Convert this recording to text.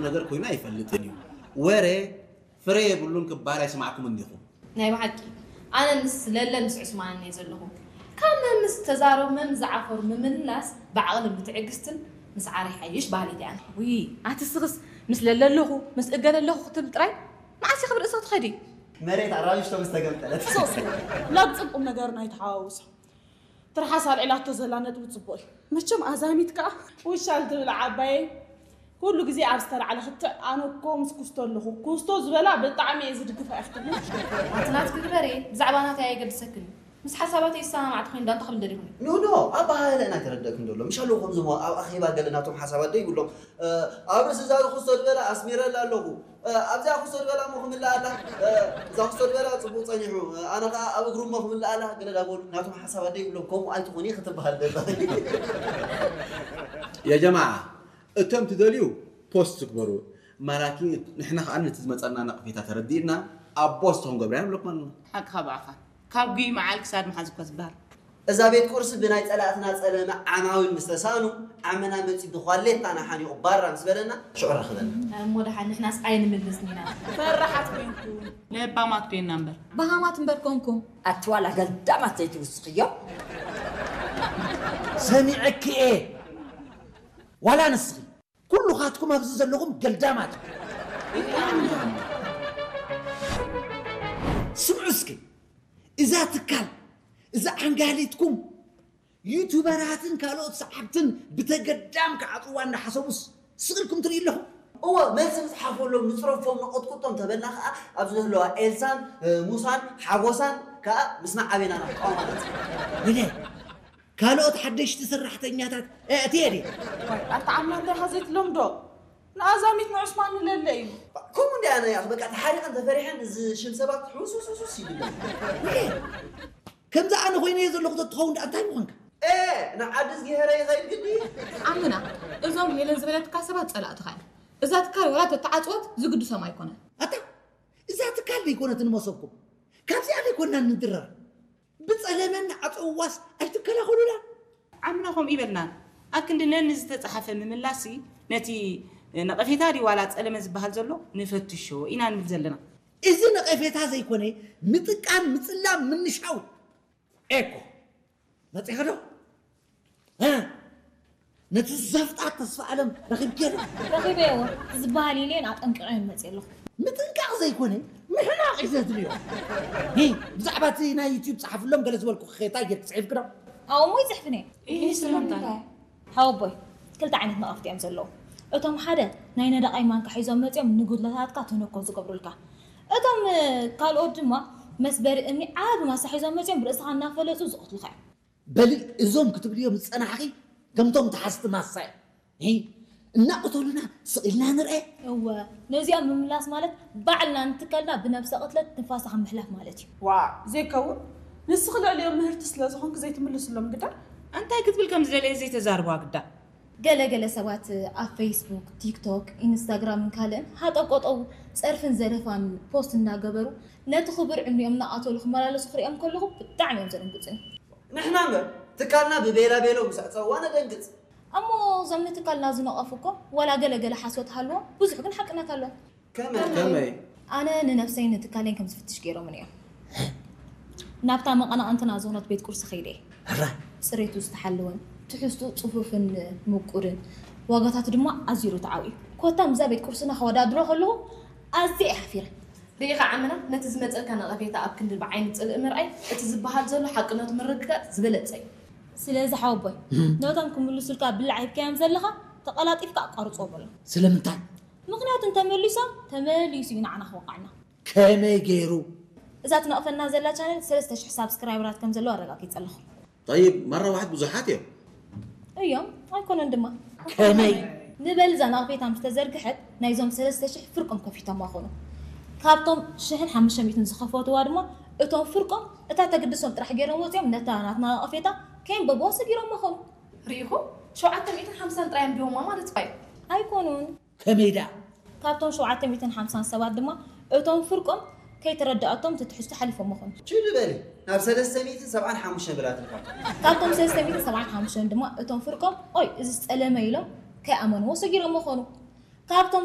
ነገር ኮይኑ ኣይፈልጥን እዩ። ወረ ፍረ የብሉን ክበሃል ኣይሰማዕኩምን ዲኹም? ናይ ብሓቂ ኣነ ምስ ለለን ምስ ዑስማንን እየ ዘለኹ። ካብ መምስ ተዛረቡ መምስ ዝዓፈሩ ምምልላስ ብዓቕልን ብትዕግስትን ምስዓር ይሓይሽ በሃሊት እየ ኣነ። ውይ ኣቲ ስኽስ ምስ ለለ ኣለኹ ምስ እገለ ኣለኹ ክትብል ጥራይ መዓስ ኢኺ ብርእስኺ ትኸዲ? መሬት ኣራቢሽቶ ምስ ተገምጠለት። ሶስ ናብ ጽቡቕ ነገር ናይ ተሓዋውሶ ትርሓስ ኣልዒላቶ ዘላ ነጥቢ ጽቡቕ እዩ። መቸም ኣዛሚት ከኣ ውሻል ትብል ዓባየይ ኩሉ ግዜ ኣብ ዝተላዕለ ክትዕ ኣነ እኮ ምስ ኩስቶ ኣለኹ ኩስቶ ዝበላ ብጣዕሚ እየ ዝድግፋ እያ ክትብል ኣቲ ናትኪ ግበሪ ብዛዕባ ናተይ ኣየገድሰክን እዩ ምስ ሓሳባተይ ዝሰማማዕ ተኾይኑ ዳኣ እንታይ ክብል ደሊኹ ኖ ኖ ኣበሃህለአን ኣይተረደእክን ዘሎ ምሽ ኣለዉ ከምዚ እሞ ኣብ ኣኼባ ገለ ናቶም ሓሳባት ዶ ይብሎም ኣብ ርእሲ እዛ ኩስቶ ዝበላ ኣስሚረላ ኣለኹ ኣብዚኣ ክሶ ዝበላ እሞ ክምልኣ ኣላ እዛ ክሶ ዝበላ ፅቡቅ ፀኒሑ ኣነ ከዓ ኣብ እግሩ እሞ ክምልኣ ኣላ ገለ ዳበሉ ናቶም ሓሳብ ኣደ ይብሎም ከምኡ ኣይትኾኒ ክትበሃል ደላ ያ ጀማዓ እቶም ትደልዩ ፖስት ትግበሩ ማላኪ ንሕና ከዓ ነቲ ዝመፀና ነቕፌታ ተረዲእና ኣብ ቦስት ክንገብርያ ንብለኩም ኣለና ሓቅኻ ብኣኻ ካብ ጉይ መዓል ክሳድ መሓዝ እኮ ዝበሃል እዛ ቤት ቁርሲ ብናይ ጸላእትና ጸለመ ዓማዊል ምስ ተሳእኑ ዓመና መጺኡ ብኳሌታና ሓኒቑ ባራ ምስ በለና ሽዑ ረኽበና። እሞ ደሓን ንሕናስ ኣይንምልስን ኢና። ፈራሓት ኮይንኩም። ለባማት ኮይንና እምበር። በሃማት እምበር ኮንኩም። ኣቲ ዋላ ገልዳማት ዘይትውስኽዮ። ሰሚዐኪ እየ ዋላ ንስኺ። ኩሉኻትኩም ኣብዚ ዘለኹም ገልዳማት ስምዑ እስኪ እዛ ትካል እዛ ዓንጋሊትኩም ዩቱበራትን ካልኦት ሰዓብትን ብተገዳም ክዓፅዋ እናሓሰቡስ ስቕ ኢልኩም ትርኢ ኣለኹም እወ መልሲ ንፅሓፈሎም ንፅረፎም ንቐጥቅጦም ተበልና ከዓ ኣብዚ ዘለዋ ኤልሳን ሙሳን ሓጎሳን ከዓ ምስና ዓቤና ኢና ክቃወማ ነፃ ካልኦት ሓደሽቲ ሰራሕተኛታት ኣእትየ ድየ? ዋይ ኣታ ዓምና እንታይ ኢኻ ዘይትለምዶ? ንኣዛሚት ንዑስማን ንለለ እዩ። ከምኡ እንዲ ኣነ ያኽ በቃ ተሓሪቐን ተፈሪሐን እዚ ሽም ሰባት ሕውስውስውስ ይብለን። ከምዚ ኣነ ኮይነ እየ ዘለኹ ተትኸውን ደኣ እንታይ ምኾንካ? ኤ ንዓዲ ዝጊሀረ ይኸይድ ግዲ። ዓምና እዞም ሄለን ዝበለትካ ሰባት ጸላእትኻ እዮም። እዛ ትካል ወላ ተተዓጽወት ዝግድሶም ኣይኮነን። ኣታ እዛ ትካል ዘይኮነትን መሰብኩም ካብዚኣ ዘይኮንና ንድረር። ብጸለመ እናዓጸውዋስ ኣይትከላኸሉላን። ዓምና ከምኡ ይበልናን። ኣብ ክንዲ ነንዝተጻሓፈ ምምላስሲ ነቲ ነቐፌታ ድዩ ዋላ ጸለመ ዝበሃል ዘሎ ንፈትሾ ኢና ንብል ዘለና። እዚ ነቐፌታ ዘይኮነ ምጥቃን ምጽላም ምንሻው ኤኮ መጺኻ ዶ? ነቲ ዘፍጣት ተስፋ ኣለም ረኺብኪ ዶ? ረኺበዮ ዝበሃል ኢለየን ኣጠንቂቐየን መፅየ ኣለኹ። ምጥንቃቕ ዘይኮነ ምሕናቕ እዩ ዘድልዮ። ሂ ብዛዕባ እቲ ናይ ዩትዩብ ፀሓፍሎም ገለ ዝበልኩ ኸታ ጌርኪ ፅሒፍኪ ዶ? ኣብኡ እሞ ይፅሕፍን እየ። ኢሂ ስለምንታይ? ሓወቦይ ክልተ ዓይነት ነቐፍቲ እዮም ዘለዉ። እቶም ሓደ ናይ ነደቓይ ማንካ ሒዞም መፅዮም ንጉድለታትካ ተነኮ ዝገብሩልካ። እቶም ካልኦት ድማ መስበሪ እምኒ ዓቢ ማሳ ሒዞም መፅዮም ብርእስኻ እናፈለፁ ዝቐትሉኻ እዮም። በሊ እዞም ክትብልዮም ዝጸናሕኺ ከምቶም ተሓዝቲ ማሳ እዮም። ሂ እናቕተሉና ስቕ ኢልና ንርኤ። እወ ነዚኦም ምምላስ ማለት ባዕልና ንትካልና ብነብሰ ቅትለት ትንፋስኻ ምሕላፍ ማለት እዩ። ዋእ ዘይከውን ንስኺ ልዕሊኦም ምህርቲ ስለ ዝኾንኪ ዘይትምልስሎም ግዳ። እንታይ ክትብል ከም ዝደለየት ዘይተዛርብዋ ግዳ። ገለ ገለ ሰባት ኣብ ፌስቡክ፣ ቲክቶክ፣ ኢንስታግራምን ካልእን ሃጠው ቀጠው ጸርፍን ዘለፋን ፖስት እናገበሩ ነቲ ክቡር ዕድሚኦም እናቐተሉ ክመላለሱ ክሪኦም ከለኹ ብጣዕሚ እዮም ዘደንግጹኒ። ንሕና እምበር ትካልና ብቤላ ቤሎ ምስ ኣዕጸውዋ ነደንግጽ። እሞ እዞም ንትካልና ዝነቐፉ እኮ ዋላ ገለ ገለ ሓሶት ሃልዎም ብዙሕ ግን ሓቅነት ኣሎ። ከመይ? ከመይ? ኣነ ንነብሰይን ንትካለይን ከም ዝፍትሽ ገይሮምኒ እዮም። ናብታ መቐናቕንትና ዝኾነት ቤት ቁርሲ ከይደ እየ። ሕራይ! ጽሬቱ ዝተሓለወን ትሕዝትኡ ጽፉፍን ምቁርን ዋጋታቱ ድማ ኣዝዩ ርትዓዊ እዩ። ኮታ ምስዛ ቤት ቁርስና ከወዳድሮ ከለኹ ኣዝየ እየ ሓፊረ። ርኢኻ ዓምና፣ ነቲ ዝመጸልካ ነቐፌታ ኣብ ክንዲ ብዓይኒ ጽልኢ ምርኣይ፣ እቲ ዝበሃል ዘሎ ሓቅነቱ ምርግጋጽ ዝበለጸ እዩ። ስለዚ ሓወቦይ፣ ነቶም ክምልሱልካ ብላዕ ሂብካዮም ዘለኻ ተቐላጢፍካ ኣቋርጽዎ በሎም። ስለምንታይ? ምኽንያቱ እንተመሊሶም ተመሊሱ እዩ ንዓና ክወቕዓና። ከመይ ገይሩ? እዛ ትነቕፈና ዘላ ቻነል ሰለስተ ሽሕ ሳብስክራይበራት ከም ዘለዋ ኣረጋጊጸ ኣለኹ። ጠይብ መራዋሕት ብዙሓት እዮም። እዮም ኣይኮነን ድማ። ከመይ? ንበል እዛ ነቕፌታ ምስ ተዘርግሐት ናይዞም ሰለስተ ሽሕ ፍርቆም ከፊቶማ ኾኑ። ካብቶም ሽሕን ሓሙሽተ ሚእትን ዝኸፈትዋ ድማ እቶም ፍርቆም እታ ተግድሶም ጥራሕ ገይሮም ወፂኦም ነታ ናትና ነቐፌታ ከየንበብዋ ሰጊሮማ ኾኑ። ርኢኹም? ሸውዓተ ሚእትን ሓምሳን ጥራይ ኣንቢቦማ ማለት እዩ። ኣይኮኑን። ከመይ ደኣ? ካብቶም ሸውዓተ ሚእትን ሓምሳን ሰባት ድማ እቶም ፍርቆም ከይተረደኣቶም እቲ ትሕዝቶ ሓሊፎሞ ኾኑ። ችሊ በሊ ናብ ሰለስተ ሚእትን ሰብዓን ሓሙሽተን ብላትልካ። ካብቶም ሰለስተ ሚእትን ሰብዓን ሓሙሽተን ድማ እቶም ፍርቆም ኦይ እዝስ ጸለመ ኢሎም ከይኣመንዎ ሰጊሮሞ ኾኑ። ካብቶም